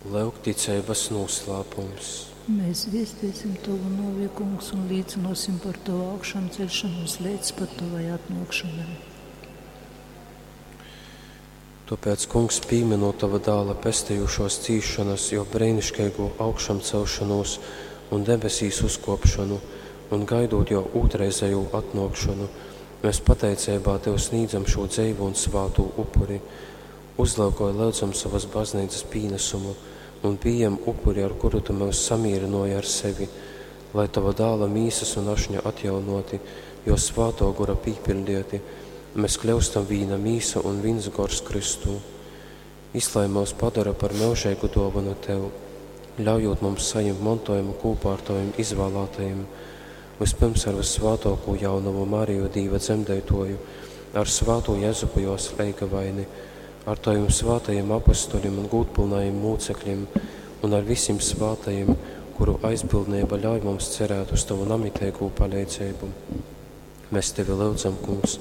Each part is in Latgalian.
Lyugticeibas nūslāpums. Mēs viestiesim Tavu nōvi, Kungs, un līcinosim par Tavu augšām celšanos līdz pat Tavai atnākšanai. Tōpēc, Kungs, pīminot Tava dāla pestījušos cīšanas, jo brēniškeigo augšamcelšanos un debesīs uzkopšanu, un gaidot jo ūtrreizējo atnākšanu, mēs pateiceibā Tev sniedzam šo dzeivu un svātū upuri. Uzlūkoj, lūdzam savas baznīcas pīnesumu un pieņem upuri, ar kuru Tu mūs samierināji ar sevi, lai Tava dāla mīsas un ašņa atjaunoti, jo svāto gora pīpildieti, mēs kļūstam vīna mīsa un viens gors Kristū. Izlai mūs padara par mūžīgu dāvanu Tev, ļaujot mums saņemt mantojumu kopā ar Taviem izvēlētajiem, vispirms ar vissvētāko jaunavu Mariju Dīva dzemdētoju, ar svāto Jezupu jos leigavaini, ar Taviem svātajiem apustuļiem un gūtpilnajiem mūcekļiem un ar visiem svātajiem, kuru aizbildnība ļauj mums cerēt uz Tavu namitīgo palīdzību. Mēs Tevi lūdzam, Kungs,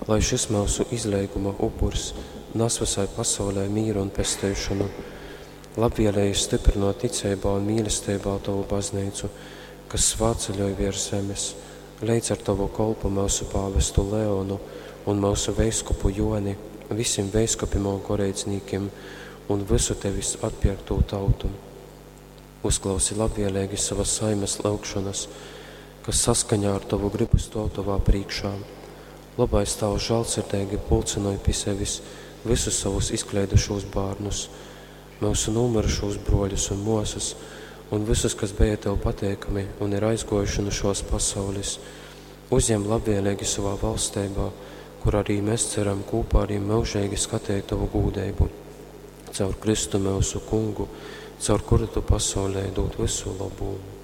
lai šis mūsu izleiguma upurs nes visai pasaulē mīru un pestīšanu, labvēlīgi stiprinot ticībā un mīlestībā Tavu baznīcu, kas svātceļoj virs zemes, līdz ar Tavu kolpu mūsu pāvestu Leonu un mūsu veiskupu Joni, visiem veiskupiem un goreidznīkiem un visu Tevis atpirkto tautu. Uzklausi labvēlīgi savas saimes lūgšanas, kas saskaņā ar Tavu gribu stāv Tavā priekšā. Labais Tavs žēlsirdīgi pulcināja pie sevis visus savus izkleidušos bērnus, mūsu nomirušos broļus un mūsas, un visus, kas bija Tev pateikami un ir aizgojuši no šos pasaules, uzņem labvēlīgi savā valstībā, kur arī mēs ceram kopā ar viņiem mūžīgi skatīt Tavu gūdību. Caur Kristu mūsu kungu, caur kuru Tu pasaulē dod visu labumu.